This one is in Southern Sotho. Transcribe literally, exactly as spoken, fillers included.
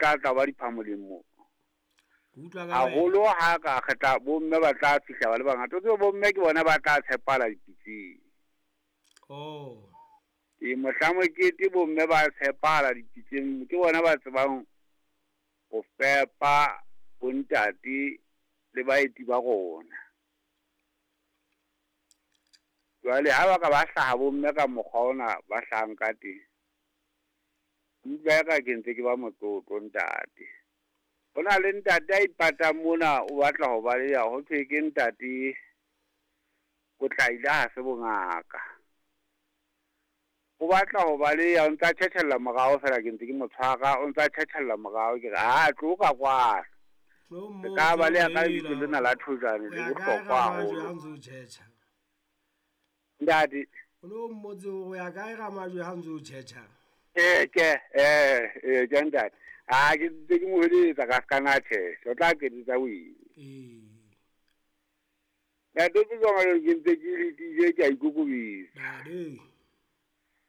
Tla tla ba diphamoleng mo. Ke utlwa ka wena. Haholo ha ka kgetha bomme ba tla fihla ba le bangata. O tsebe bomme ke bona ba tla tshepala dipitseng. Oh. E mohla mokete bomme ba tshepala dipitseng, ke bona ba tsebang ho fepa bontate le baeti ba rona. Jwale ha ba ka ba hlaha bomme ka mokgwa ona ba hlahang ka teng, utlwa eka ke ntse ke ba motlotlo ntate. Ho na le ntate a ipatang mona, o batla ho baleha, ho thwe ke ntate o tlaile ha se bongaka. O batla ho baleha, o ntsa tjhetjhella morao fela, ke ntse ke mo tshwara, o ntsa tjhetjhella morao, ke re, ha tlo ka kwano. Tlo Re moo, ka tlo baleha ka hela. lebitso lena la Thojane, O le ya kae bohlokwa Ramajwe haholo. ha ntse o tjhetjha? Ntate. O no mmotse hore o ya kae Ramajwe ha ntse o tjhetjha? Eh, ke, eh, eh, ke ntate. Ha ke ntse ke mo hweletsa ka ska na tjhetjha, o tla qetisa o ile. Ee. Ntate ke tsona ke ntse ke letile, ke a